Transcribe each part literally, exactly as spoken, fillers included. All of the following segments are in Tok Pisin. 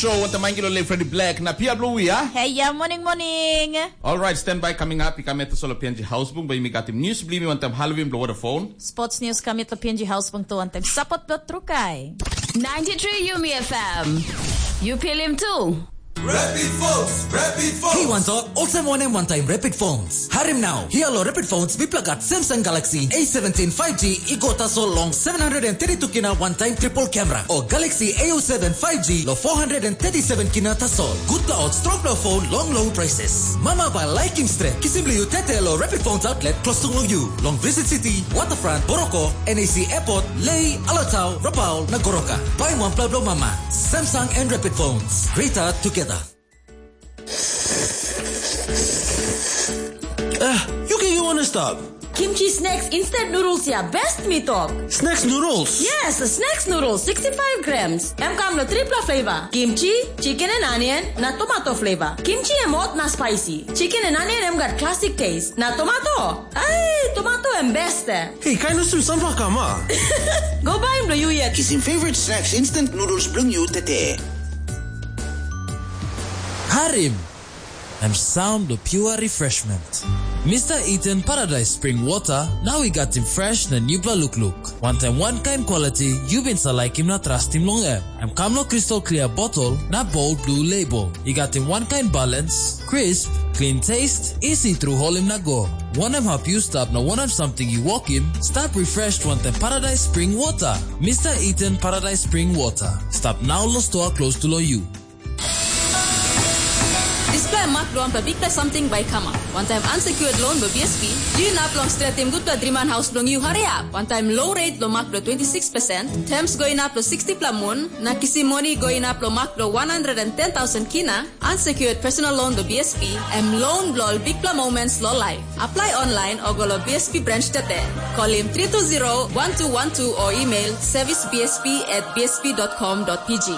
Show wantaim Angelo le Freddy Black na Pia Blue ya. Hey ya, morning, morning. Alright, stand by, coming up. Ika meta solo P N G Housebung, ba imi got him news blimi wantaim Halloween blow water phone. Sports news kamit lo P N G Housebung to wantaim support dot trukai. ninety-three Yumi F M. You feel him too. Rapid Phones, Rapid Phones. Hey, wantok, olsem wanem wantaim Rapid Phones. Harim now, hia lo Rapid Phones, mipla gat Samsung Galaxy A seventeen five G i go tasol long seven hundred and thirty-two kina one time triple camera, o Galaxy A oh seven five G lo four hundred and thirty-seven kina tasol. Good law, strong law phone, long low prices. Mama by liking straight. Kisim you tete lo Rapid Phones outlet close to you. Long Visit City, Waterfront, Boroko, N A C Airport, Lei, Alatau, Rapau, na Goroka. Buy one plug lo Mama. Samsung and Rapid Phones. Greater together. Eh, yu ke yu wana stap? Kimchi snacks instant noodles ya best mi tok. Snacks noodles? Yes, snacks noodles sixty-five grams. Em kam lo tripla flavor. Kimchi, chicken and onion, na tomato flavor. Kimchi em hot na spicy. Chicken and onion em gat classic taste. Na tomato? Ai, tomato em best. Hey, kain usim sampla kam a? Go baim lo yu yet. Kisim favorite snacks instant noodles bilong yu tete. Harim! Em sound of pure refreshment. Mister Eden Paradise Spring Water, now we got him fresh na newbra look look. One time, one kind quality, you been sa like him na trust him long em. Em kam lo crystal clear bottle na bold blue label. I gat him one kind balance, crisp, clean taste, easy through holim na go. Wanem hap yu stap na wanem something yu wokim, stap refreshed wantaim Paradise Spring Water. Mister Eden Paradise Spring Water. Stap now lo store close to lo you. Dispela em mak bilong wanpela bikpela samting bai i kamap. Wantaim unsecured loan bilong B S P, yu inap long stretim gutpela driman haus bilong yu hariap. Wantaim low rate bilong mak bilong twenty six percent, terms go inap long sixty pela mun, na kisim moni go inap long mak bilong one hundred and ten thousand kina, unsecured personal loan bilong B S P, em loan bilong ol bikpela moments long life. Apply online o go long B S P branch tete. Kolim three two zero one two one two o email service B S P at B S P dot com dot P G.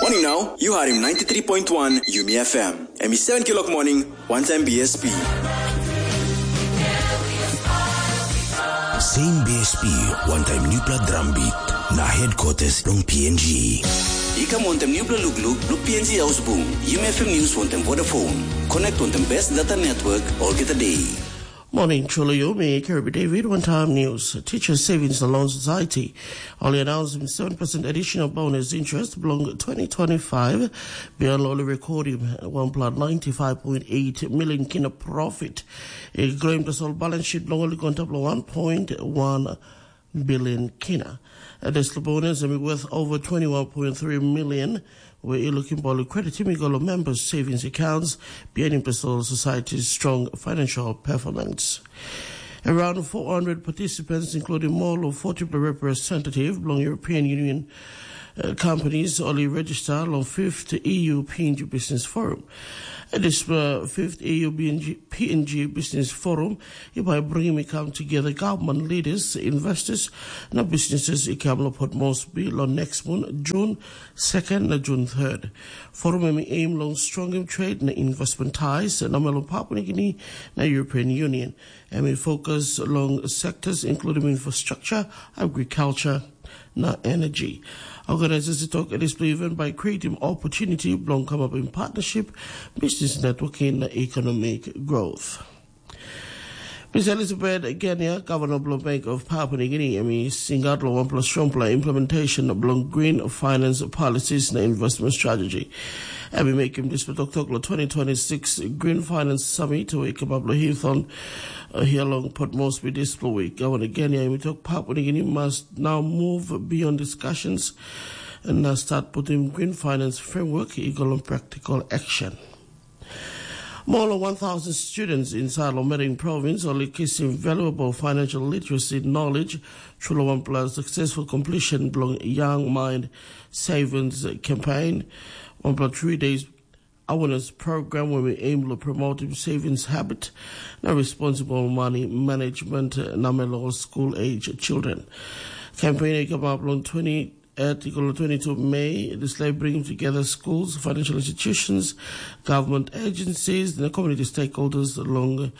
Morning now, you are in ninety-three point one Yumi F M. Em is seven kilok morning, one time B S P. Same B S P, one time Newpla Drum Beat, na headquarters long P N G. I kam wantaim nupela lukluk bilong P N G Ausbung, Yumi F M News wantaim Vodafone. Connect wantaim best data network olgeta day. Morning, Chuluyumi, Kirby David, One Time News. Teachers Savings and Loan Society only announced seven percent additional bonus interest belong twenty twenty-five, beyond only recording one plus ninety-five point eight million kina profit. A claim the sole balance sheet belong only on top of one point one billion kina. This bonus is worth over twenty-one point three million, where you looking for credit him go members' savings accounts, behind the society's strong financial performance. Around four hundred participants, including more than forty representatives from European Union uh, companies, only register on fifth E U P N G Business Forum. This uh, fifth E U P N G Business Forum, if I bring me come together, government leaders, investors, na businesses, i kam lo Port Moresby lo next month, June second na June third. Forum em i aim long strongim trade na investment ties na melo Papua New Guinea na European Union. Em i focus long sectors including infrastructure, agriculture, na energy. Organizers i tok dispela event by creating opportunity bilong kamapim partnership, business networking na economic growth. Miss Elizabeth Genia, Governor bilong Bank of Papua New Guinea, em i singaut long wanpela strongpela implementation bilong green finance policies na investment strategy. Em i mekim dispela toktok long twenty twenty-six Green Finance Summit we i kamap long Hilton uh, here long Port Moresby dispela week. Governor Genia, em i tok Papua New Guinea must now move beyond discussions and now start putting green finance framework i go long practical action. More than one thousand students inside Lomering province only kisim valuable financial literacy knowledge through one plus successful completion belong Young Mind Savings campaign. One plus three days awareness program where we aim to promote savings habit and responsible money management uh, namelo school age children. Campaign come up on twenty At i go long twenty-two Mei, dispela i bringim together schools, financial institutions, government agencies, na community stakeholders long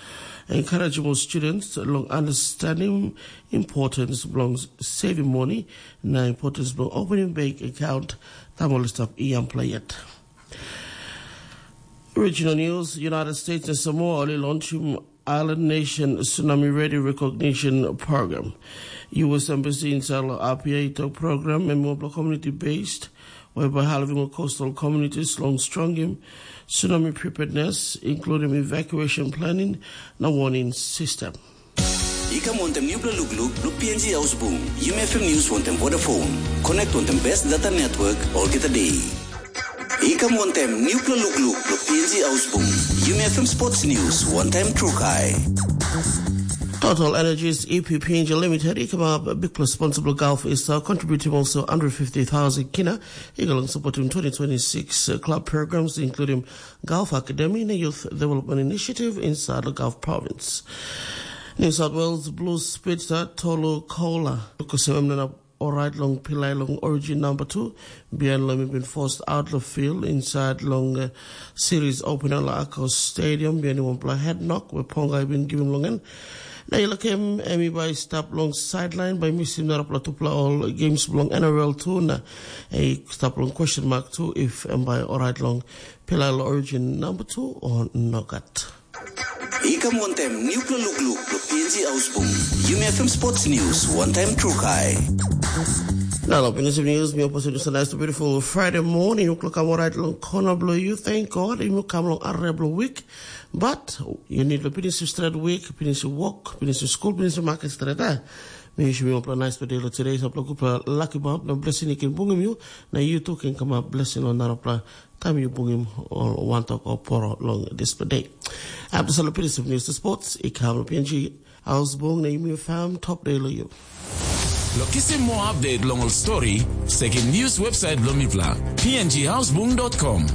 encouraging more students long understanding importance belong saving money na importance belong opening bank account. Tamol stop i ampla yet. Regional News, United States na Samoa ol i launchim Island Nation Tsunami Ready Recognition Program. U S Embassy inside lo Apia i tok program em mobile community based, whereby halving of coastal communities long strongim tsunami preparedness, including evacuation planning na warning system. I kam wantem nupela lukluk lo P N G Ausbung, Yumi F M News wantem Vodafone. Connect wantem best data network olgeta day. I kam wantem nupela lukluk lo P N G Ausbung, Yumi F M Sports News wantem Trukai. Total Energies E P P N G Limited i kamap big responsible golf is uh, contributing also one hundred fifty thousand kina. He going supporting twenty twenty-six uh, club programs, including Golf Academy and Youth Development Initiative inside the Golf Province. New South Wales Blues Spitzer Tolu Koula, Kusememnana orait long pilai long origin number two, bihain long mi bin forced out the field inside long uh, series opener la Akos Stadium, bihain wanpela head knock where Ponga bin giving long en. Na i lakim em i bai stap long sideline bai misim narapela tupela ol games bilong N R L tu na i stap long question mark tu if em bai orait long pilai long origin number two o nogat. I kam wantem nupela lukluk lo P N G Ausbung, Yumi F M Sports News wantem Trukai. Now, Pinisi News, mi opposite is a nice beautiful Friday morning. Yukluk am alright long corner below you. Thank God. You come long a rebel week. But you need to finish straight week, finish work, finish school, finish market straight. Eh? Mi wish mi opla nice today lo today. Sapla kupla lucky bump na blessing you can bungim you. Na you too can come up blessing on narapla. Time you bungim all one talk or poro long this day. After Salapini News to Sports, I come up P N G. Ausbung na Yumi F M top day lo you. Lo kisim moa update long ol stori, sekim news website bilong mipela, p n g housebung dot com.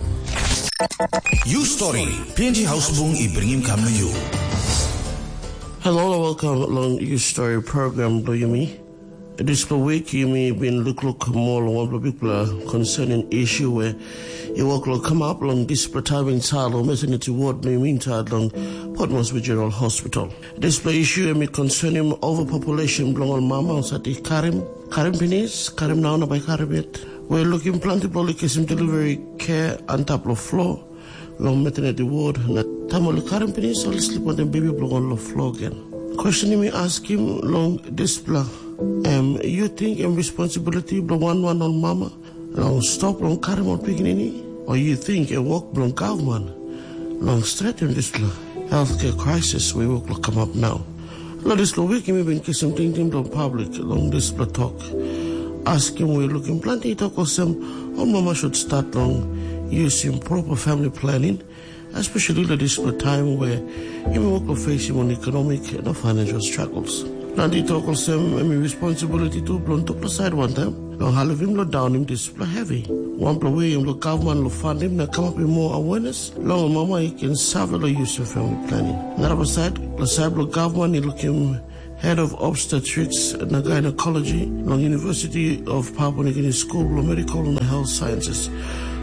You story, P N G Housebung i bringim kam na you. Hello and welcome along You Story program bilong Yumi. Dispela week yumi bin lukluk moa long wanpela bikpela concerning issue where i wok long kamap long dispela taim insait long maternity ward na yumi insait long Port Moresby General Hospital. Dispela issue em i concerning overpopulation bilong ol mama ol sati karim, karim pinis, karim nau na bai karim yet. We lukim planti bilong ol i kisim delivery care antap long floor. Long maternity ward na taim ol i karim pinis ol i slip wantaim bebi bilong ol long floor gen. Question mi askim long dispela, em yu ting em responsibility bilong wan wan ol mama long stop long karim ol pikinini, o yu ting em wok bilong gavman long stretim dispela healthcare crisis we wok long kamap nau? Long dispela wik mi bin kisim tingting bilong public long dispela tok. Askim we lukim planti i tok olsem, ol mama should start long using proper family planning, especially long dispela time where yumi wok long facing on economic na financial struggles. Planti tok olsem em i responsibility tu bilong tupela side wantaim long halivim long daunim dispela heavy. Wanpela we em long gavman long fandim na kamapim moa awareness long mama i ken save long yusim family planning. Narapela side, long side bilong gavman i lukim head of obstetrics na gynecology long University of Papua New Guinea School bilong Medical na Health Sciences,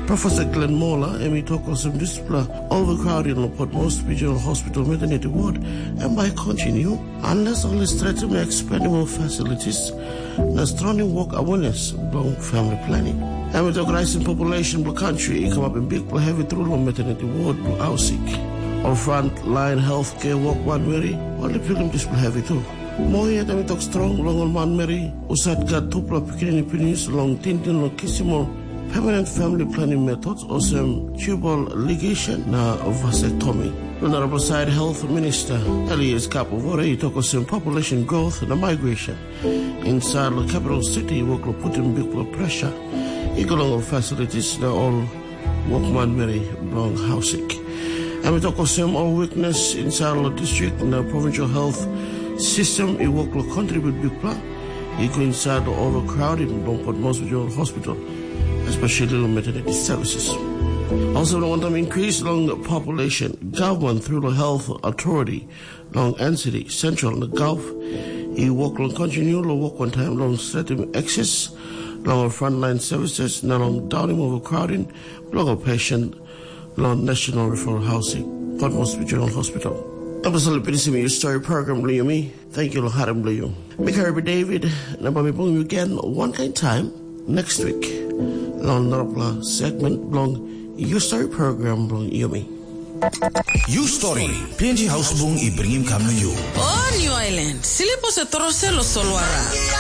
Professor Glenn Mola, em i tok olsem dispela overcrowding long Port Moresby General Hospital maternity ward em bai continue unless ol i stretim na expanding more facilities na strongim work awareness bilong family planning. Em i tok rising population bilong country i kamapim bikpela heavy tru long maternity ward bilong Ausik. Ol front line healthcare work manmeri ol i pilim dispela heavy tu. Moa yet em i tok strong long ol manmeri husat gat tupela pikinini pinis long tingting long kisim ol permanent family planning methods olsem tubal ligation na vasectomy. Long narapela side, health minister Elias Kapuvore i tok olsem population growth na migration inside long capital city i wok long putim bikpela pressure i go long ol facilities na ol wokmanmeri bilong hausik. Em i tok olsem ol weakness inside long district na provincial health system i wok long contribute bikpela i go inside long overcrowding bilong Port Moresby General Hospital, especially long maternity services. Also, long wantam increase long population, government through the health authority long N C D, Central na Gulf, i wok long continue long wok wantaim long stretim access long ol frontline services na long daunim overcrowding bilong ol patient long National Referral Housing, Cotmos Regional Hospital. Em ol pinisim yu story program bilong yumi. Thank you long harim bilong yu. Mi Karibi David, na bai mi bungim yu gen wankain taim next week long narapela segment bilong yu story program bilong yumi. Yu story, P N G Hausbung i bringim kam na yu. O New Island, silipo se torose lo solwara.